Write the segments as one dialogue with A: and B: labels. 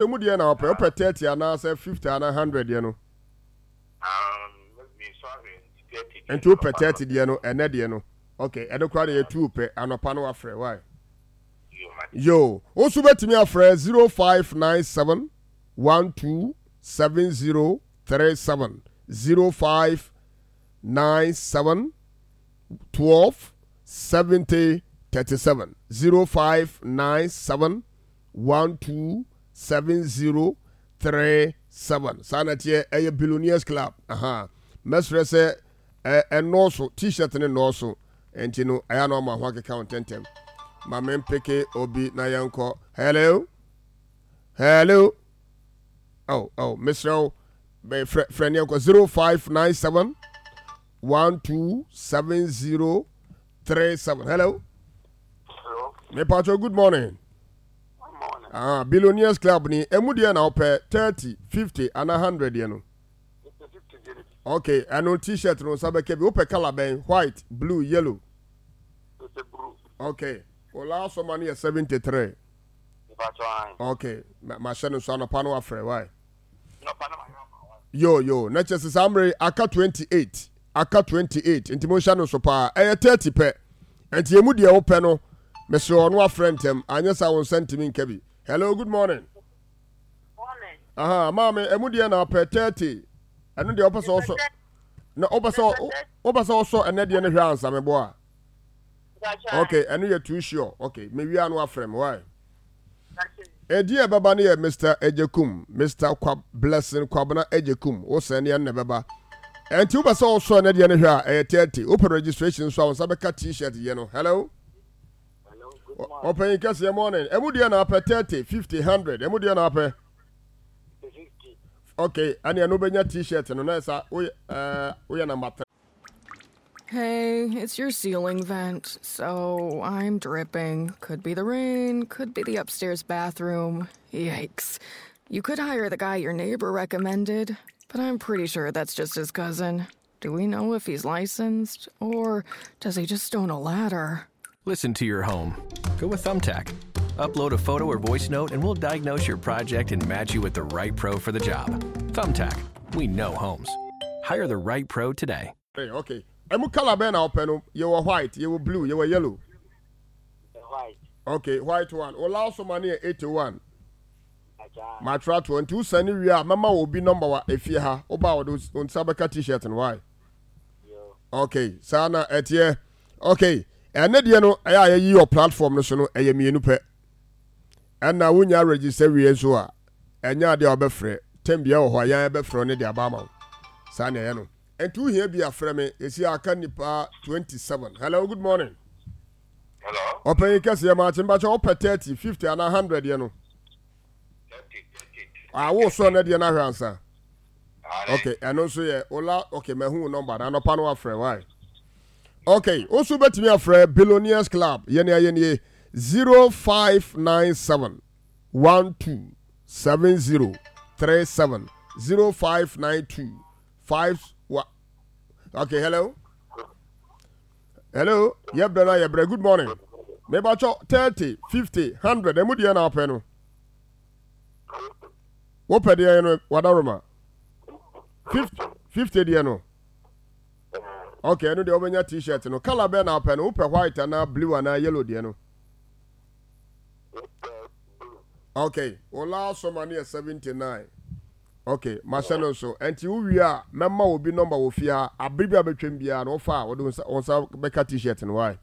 A: Emu deɛ na wopɛ? Wopɛ 30 anaasɛ 50 anaa 100 deɛ no? Nti wopɛ 30 deɛ no, ɛnɛ deɛ no. Okay, ɛno koraa deɛ yɛ two pɛ, anɔpa no wafrɛ, why? Yo, wo nso bɛtumi afrɛ 0597 12 70 37 0597 12 70 37 0597 127037 saa na ɛteɛ. Ɛyɛ Billionaires Club. Aha, mɛsrɛ sɛ ɛnɔɔso, T-shirt ne nnɔɔso, nti no ɛyɛ na ɔma ho akeka wo ntɛntɛm. Ma mempeke obi na yɛnkɔ. Hello, hello. Oh, mesrɛ wo, frɛ frɛ ne yɛnkɔ. 0597 127037. Hello.
B: Hello.
A: Mepatro, good morning.
B: Good morning.
A: Ah, Billionaires Club ni. Emu deɛ na wopɛ, 30, 50 ana 100 deɛ no? Okay, ɛno T-shirt no nsa bɛka bi. Wopɛ colour bɛn? White, blue, yellow? Okay, o last one no yɛ 73. Okay, mahyɛ no nso, anɔpa no wafrɛ, why? Yo, na kyerɛ sɛ saa mmerɛ aka 28, aka 28, nti monhyɛ no nso paa. Ɛyɛ 30 pɛ, nti emu deɛ wopɛ no, mesrɛ ɔno afrɛ ntɛm, anyɛ saa wo nsa ntumi nka bi. Hello, good morning.
C: Morning.
A: Aha, maame, emu deɛ na wopɛ? 30, ɛno deɛ wopɛ sɛ ɔsɔ na wopɛ sɛ ɔsɔ ɛnɛ deɛ no hwɛ ansa meboa a. Okay, ɛno yɛ too sure. Okay, mewia no afrɛ me, why? Ɛdi a ɛbɛba no yɛ Mr Ejekum, Mr Kwa Blessing Kwabena Ejekum. Wo sɛ ne ɛno na ɛbɛba, ɛnti wopɛ sɛ ɔsɔ ɛnɛ deɛ no hwɛ a, ɛyɛ 30. Wopɛ registration nso a, wo nsa bɛka T-shirt yɛ no. Hello, ɔpanyin kɛseɛ, morning. Ɛmu deɛ na apɛ? 30, 50, 100, ɛmu deɛ na apɛ? Okay, ɛne ɛno wobɛnya T-shirt no na ɛsa woyɛ woyɛ number 3.
D: Hey, it's your ceiling vent. So I'm dripping. Could be the rain, could be the upstairs bathroom. Yikes. You could hire the guy your neighbor recommended, but I'm pretty sure that's just his cousin. Do we know if he's licensed? Or does he just own a ladder?
E: Listen to your home. Go with Thumbtack. Upload a photo or voice note, and we'll diagnose your project and match you with the right pro for the job. Thumbtack. We know homes. Hire the right pro today.
A: Hey, okay, ɛmu colour bɛn na wopɛ no? Yɛwɔ white, yɛwɔ blue, yɛwɔ yellow.
B: White.
A: Okay, white one. O last one yɛ 81. Matwerɛ atoɔ, nti wosane wie a, mɛma wɔ obi number wa efie ha. Woba a, wɔde wo nsa bɛka T-shirt no, why? Okay, saa na ɛteɛ. Okay, ɛne deɛ no ɛyɛ a yɛyi wɔ platform no so no ɛyɛ mmienu pɛ, ɛna wonya register wie nso a, ɛnyɛ adeɛ a wɔbɛfrɛ tɛm bia wɔ hɔ a yɛn bɛfrɛ ne de aba ama wo. Saa na ɛyɛ no, nti wohia bi a, frɛ me. Ɛsi aka nipa 27. Hello, good morning.
B: Hello.
A: Ɔpanyin kɛseɛ, maakye. Mbakyɛ, wopɛ 30, 50 anaa 100 deɛ no?
B: 30.
A: A wo sɔ ne deɛ no ahwɛ ansa. Okay, ɛno nso yɛ ola. Okay, mahu wo number na anɔpa no wafrɛ, why? Okay, wo nso bɛtumi afrɛ Billionaires Club. Yɛne ayɛ nie: 0597 12 70 37 0592 5 wa. Okay, hello, hello. Yɛbrɛ no a yɛbrɛ. Good morning. Mebakyɛ, 30, 50, 100, ɛmu deɛ na wopɛ no? Wopɛ deɛ no, wadaroma 50, 50 deɛ no. Okay, ɛno deɛ wobɛnya T-shirt no. Colour bɛn na wopɛ no? Wopɛ white anaa blue anaa yellow deɛ no? Okay, wo last one no yɛ 79. Okay, mahyɛ no nso, ɛnti wowie a, mɛma obi number wɔ fie ha. Abere bi a bɛtwam biara no, wofa a, wɔde wo nsa bɛka T-shirt no, why?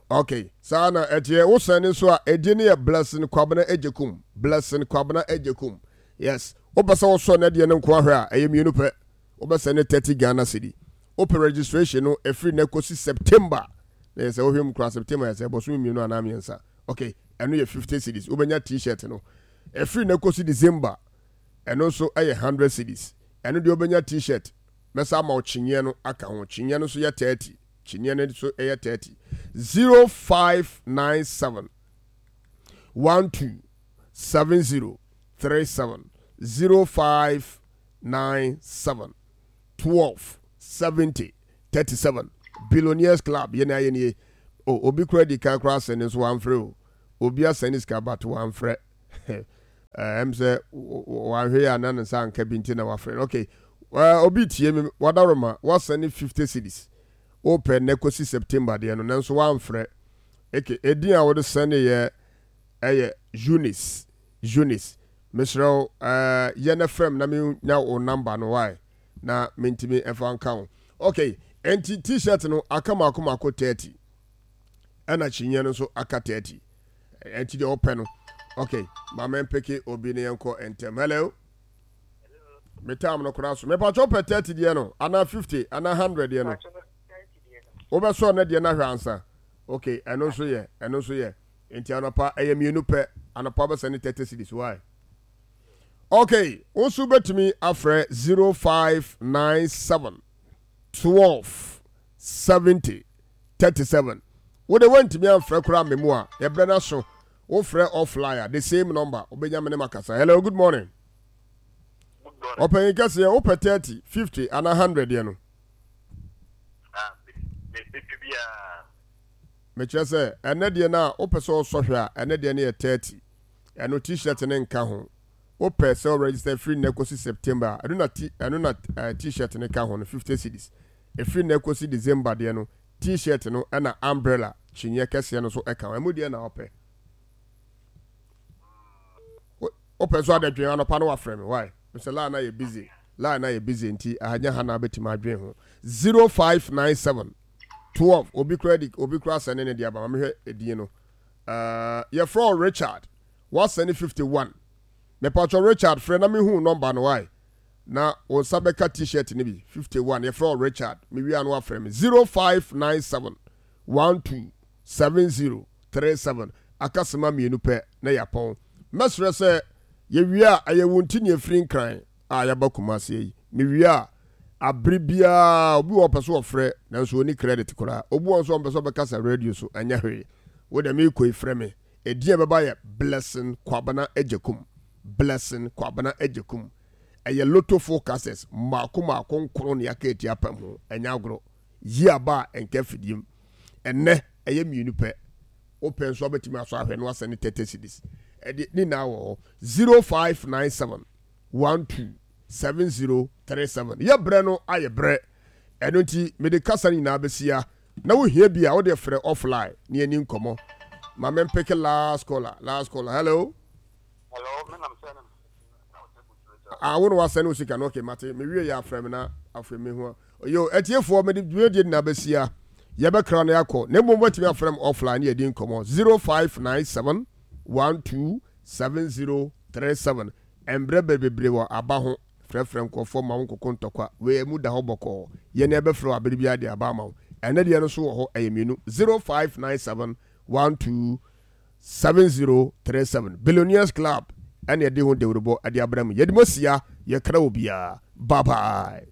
A: Okay, saa na ɛteɛ. Wosɛn ne nso a, ɛdi ne yɛ Blessing Kwabena Agyekum, Blessing Kwabena Agyekum. Yes, wopɛ sɛ wosɔ ne deɛ no nko ahwɛ a, ɛyɛ mmienu pɛ. Wobɛsɛn ne 30 Ghana cedi. Wopɛ registration no, ɛfiri na kɔsi September na yɛ sɛ wohwɛ mu koraa, September yɛ sɛ bɔsome 2 anaa 3. Okay, ɛno yɛ 50 cedis, wobɛnya T-shirt no. Ɛfiri na kɔsi December, ɛno nso ɛyɛ 100 cedis. Ɛno deɛ wobɛnya T-shirt, mɛsa ama wo kyiniiɛ no aka ho. Kyiniiɛ no nso yɛ 30, kyiniiɛ no nso yɛ 30. 0597 12 70 37 0597 12 70 37. Billionaires Club, yɛne ayɛ nie o. Obi kora di kan kora asɛne nso wamfrɛ o. Obi asɛne sika but wamfrɛ. Ɛm sɛ wanhwɛ yɛ a na ne nsa anka bi nti na wafrɛ no. Okay. Obi tie me wadaroma wasɛne 50 cedis. Wopɛ nnɛ kɔsi September deɛ no nanso wamfrɛ. Eke edin a wode sɛneeɛ ɛyɛ Eunice. Eunice. Mesrɛ wo yɛ na frɛ me na menya wo number no why na mentumi ɛfa nka wo. Okay. Enti t-shirt no aka mako mako 30. Ɛna kyiniiɛ no nso aka 30. Ɛnti deɛ ɔpɛ no. Ok, ma mempeke obi ne yɛnkɔ ntɛm. Hello? Me time no koraa so. Mepatwɛ wopɛ 30 deɛ no, anaa 50, anaa 100 deɛ no? Wobɛsɔ ne deɛ no ahwɛ ansa. Ok, ɛno nso yɛ, ɛno nso yɛ. Nti anɔpa, ɛyɛ mmienu pɛ. Anɔpa wobɛsɛ ne 30 cedis, why? Ok, wo nso wobɛtumi afrɛ 0597 12 70 37 Wo de woantumi amfrɛ koraa me mu a yɛbrɛ no aso wo frɛ offline a the same number wobɛnya me ne makasa Hello good morning Ɔpanyin kɛseɛ wopɛ 30, 50 anaa 100 deɛ no Mekyerɛ sɛ ɛnɛ deɛ no a wopɛ sɛ ɔsɔ hwɛ a ɛnɛ deɛ no yɛ 30 ɛno t-shirt no nka ho wopɛ sɛ register firi nnɛ kɔsi September a ɛno na t ɛno na eh, t-shirt no ka ho no 50 cedis Ɛfiri nnɛ kɔsi December deɛ no, T-shirt no na umbrella kyiniiɛ kɛseɛ no nso ka ho. Ɛmu deɛ na wopɛ? Wopɛ nso adɛdwen anɔpa no wafrɛ me. Why? Mesɛ line na yɛ busy. Line na yɛ busy nti ahanya ha na abɛtumi adwen ho. 0597 12 obi kura di obi kura sɛne ne deɛ aba ma mehwɛ edin no. Uh, yɛfrɛ wo Richard. Wasɛne 51. Mepatwɔ Richard frɛ na mehu nɔmba no why? Na wo nsa bɛka T-shirt no bi. 51, yɛfrɛ wo Richard. Mewie a na woafrɛ me. 0597 12 70 37. Aka sima mmienu pɛ na yɛapɔn. Mɛsrɛ sɛ yɛwie a, ɛyɛ wo nti na yɛfiri Nkran a yɛaba Kumasi yi. Mewie a, abere biara obi wɔ hɔ ɔpɛ sɛ ɔfrɛ nanso ɔnni credit koraa. Obi wɔ hɔ nso a ɔmpɛ sɛ ɔbɛkasa radio so, ɛnyɛ hwee. Wo deɛ merekɔ yi frɛ me. Edin a ɛbɛba yɛ Blessing Kwabena Agyekum. Blessing Kwabena Agyekum. Ɛyɛ lotto forecasters mmaako mmaako nkron na yɛaka atia apam ho. Ɛnyɛ agorɔ. Yi aba a ɛnka afidie mu. Ɛnnɛ, ɛyɛ mmienu pɛ. Wopɛ nso a wobɛtumi asɔ ahwɛ na woasɛne 30 cedis. Ɛde ne nyinaa wɔ hɔ. 0597 12 7037. Yɛ berɛ no ayɛ berɛ. Ɛno nti mede kasa no nyinaa bɛsia. Na wohia bi a wode frɛ offline na yɛni nkɔmmɔ. Ma mempeke last caller. Last caller. Hello.
B: Hello, me nam sɛ
A: Ah, wo na wasɛne wo sika no. Okay, mate. Me wie yɛ afrɛ me na afei me hu. Yo, atiefoɔ mede dwumadie nyinaa bɛsia. Yɛbɛkra no yɛakɔ. Na mmom watumi afrɛ me offline ne yɛdi nkɔmmɔ. 0597 12 7037. Mbrɛ bebree wɔ aba ho. Frɛfrɛ nkurɔfoɔ ma wo nkoko ntɔkwa. Wei ɛmu da hɔ bɔkɔɔ. Yɛn yɛbɛfrɛ wo abere biara de aba ama wo. Ɛnɛ deɛ no nso wɔ hɔ ɛyɛ mmienu. 0597 12 7037 Billionaires Club ɛna ɛde ho dawurubɔ ɛde abrɛ mu. Yɛde mo asia, yɛkra obiara. Bye bye.